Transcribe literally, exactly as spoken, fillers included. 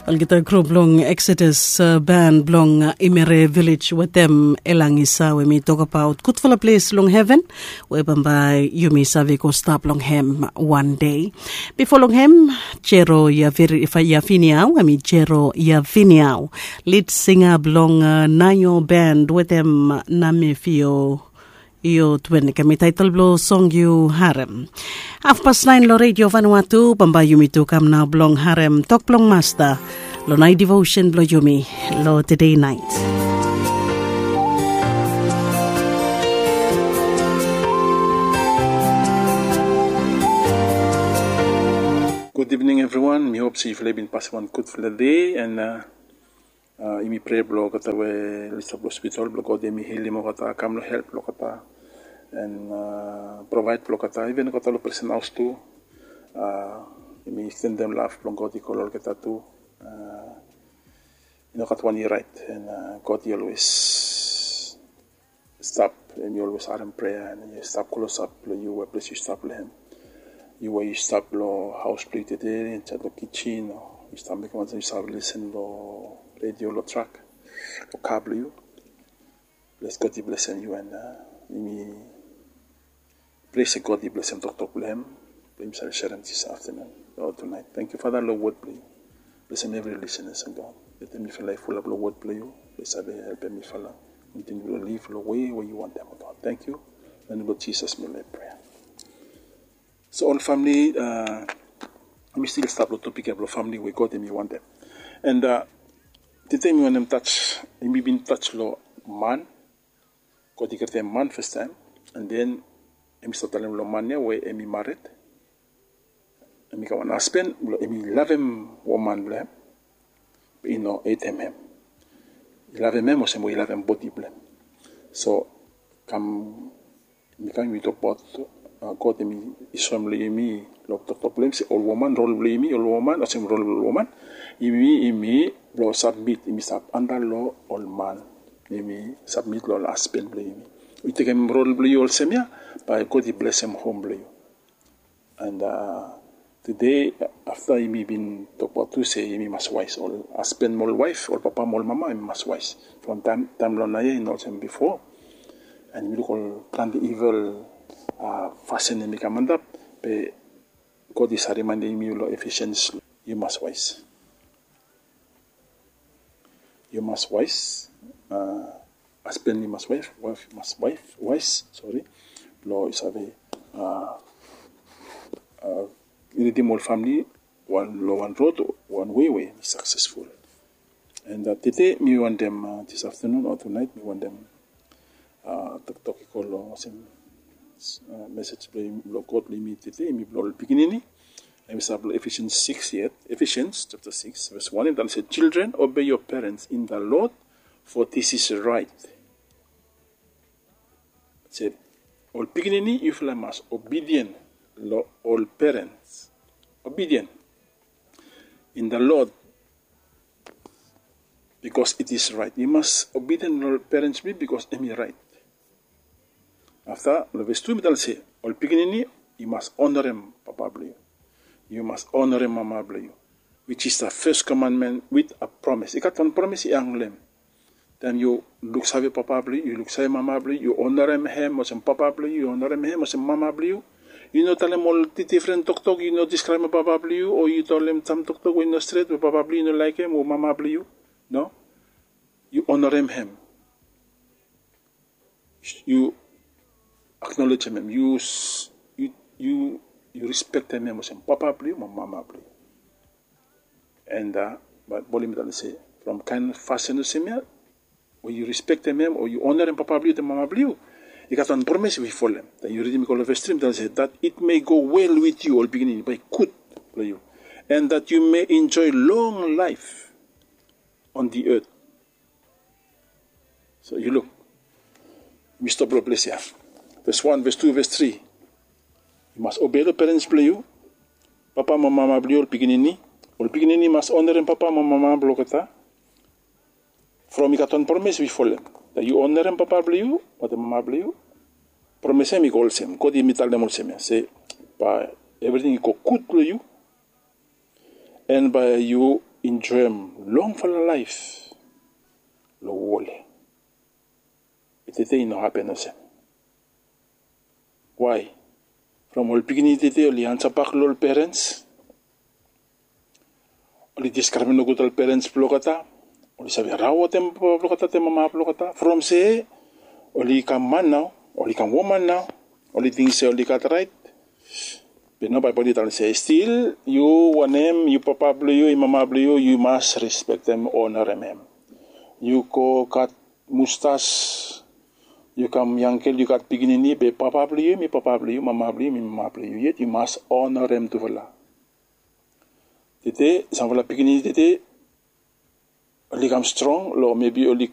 Olgeta grup blong Exodus, uh, band blong, uh, Imere Village wetem Elangisa, we mi tokbaot gudfala ples long heven we bambae yumi save go stap long hem wan dei. Bifo long hem, Jero Yaviniau, hemi Jero Yaviniau, lead singer blong, uh, Nayo Band wetem Namefio Io Twen, hemi taetol blong song yu harem. Hafpas naen long Redio Vanuatu, bambae yumi tu kam nao blong harem tok blong Masta long naet devotion blong yumi long tede naet. Gud ivning evriwan, mi hop se yufala i bin pasem wan gudfala dei, and, uh, Uh, yumi prea blong olgeta we oli stap long hospital, blong God hemi helim olgeta, kam long help blong olgeta, and, uh, provaed blong olgeta, iven olgeta long presen haos tu. Uh, yumi ekstendem lav blong God i go long olgeta tu. Uh, i no gat wan i raet, and, uh, God i olwes stap, hemi olwes harem prea, and i stap klosap long yu, we ples yu stap long hem. Yu we yu stap long haos blong yu tede, insaed long kijin, o yu stap mekem wan ting, yu save lisen long redio, long trak, long ka blong yu. Ples God i blesem yu, and, uh, yumi prea se God i blesem toktok blong hem, blong yumi save serem dis aftenun o tunaet. Tangkiu Fada long wod blong yu. Blesem evri lisenas, o God. Letem mifala i fulap long wod blong yu, blong save helpem mifala kontiniu blong liv long we we yu wantem, o God. Tangkiu. Long nem blong Jisas mi laik prea. So ol famili, uh, mi stil stap long topik ya blong famili we God hemi wantem. And, uh, tede mi wantem tas, yumi bin tas long man, God i krietem man fastaem, and then hemi stap talem long man ya we hemi mared, hemi kam wan hasben, blong hemi lavem woman blong hem, be i no hetem hem. I lavem hem olsem we i lavem bodi blong hem. So kam, mi kam, mi tokbaot, uh, God hemi soem long yumi long toktok blong hem se ol woman, rol blong yumi, ol woman, olsem rol blong ol woman, yumi, yumi blong sabmit, yumi stap anda long ol man, yumi sabmit long ol hasben blong yumi. Yu tekem rol blong yu olsem ya, bae God i blesem hom blong yu. And, uh, tede, afta yumi bin tokbaot tu se yumi mas waes, ol hasben mo ol waef, ol papa mo ol mama, yumi mas waes. From taem, taem long naoia i no olsem bifo. And yumi luk ol plante ivil, uh, fasin hemi kam antap, be God i save rimaendem yumi long Ephesians, yu mas waes. Yu mas waes, uh, hasben i mas waes, waef i mas waes, waes, sori. Blong i save, uh, uh, lidim ol famili wan, long wan rod, wan wei we saksesful. And, uh, tede mi wantem, uh, dis aftenun o tunaet mi wantem, uh, toktok i go long olsem, uh, mesej blong, blong God blong yumi tede, hemi blong ol pikinini. Hemi stap long Ephesians six yet, Ephesians chapter six, verse one, hemi talem se, "Children, obey your parents in the Lord, for this is right." Se, ol pikinini, yufala mas obedient long ol parents. Obedient in the Lord, because it is right. Yu mas obedient long ol parents blong yu, because hemi raet. Afta, long ves tu, hemi talem se, ol pikinini, yu mas onarem papa blong yu. Yu mas onarem mama blong yu, which is the first commandment with a promise. I gat wan promis i hang long hem. Taem yu luksave papa blong yu, yu luksave mama blong yu, yu onarem hem olsem papa blong yu, yu onarem hem olsem mama blong yu. Yu no talem ol di-, difren toktok, yu no diskraebem papa blong yu, o yu talem sam toktok we i no stret, we papa blong yu i no laekem, o mama blong yu. No. Yu onarem hem. Yu aknolejem hem, yu s-, yu, yu, yu rispektem hem olsem papa blong yu mo mama blong yu. And, uh, Baebol hemi talem se, from kaen fasin olsem ya, we yu rispektem hem o yu onarem papa blong yu wetem mama blong yu, i gat wan promis we i folem. Taem yu ridim i go long ves tri, hemi talem se, "That it may go well with you," ol pikinini, bae i gud blong yu, "and that you may enjoy long life on the earth." So yu luk, mi stop long ples ya. Ves wan, ves tu, ves tri. Yu mas obei long parents blong yu, papa mo mama blong yu, ol pikinini. Ol pikinini mas onarem papa mo mama blong olgeta. From i gat wan promis we i folem. Taem yu onarem papa blong yu wetem mama blong yu, promis ya hemi go olsem, God hemi talem olsem ya se, bae evriting i go gud long yu. And bae yu Injoem longfala laef long wol ya. Be tete i no hapen olsem. Wae? From ol pikinini tete oli ansabak long ol perens, oli diskraibe nogud ol perens blong olgeta, oli save raotem papa blong olgeta te mama blong olgeta from se oli kam man nao, oli kam woman nao, oli ting se oli gat raet. Be nao Baebol i talem se stil yu wanem, yu papa blong yu, yu mama blong yu, yu mas respektem, onarem hem. Yu go gat mustas, yu kam yangel, yu gat pikinini, be papa blong yu hem i papa blong yu, mama blong yu hem i mama blong yu, yet yu mas onarem tufala. Tete samfala pikinini tete oli kam strong long mebi oli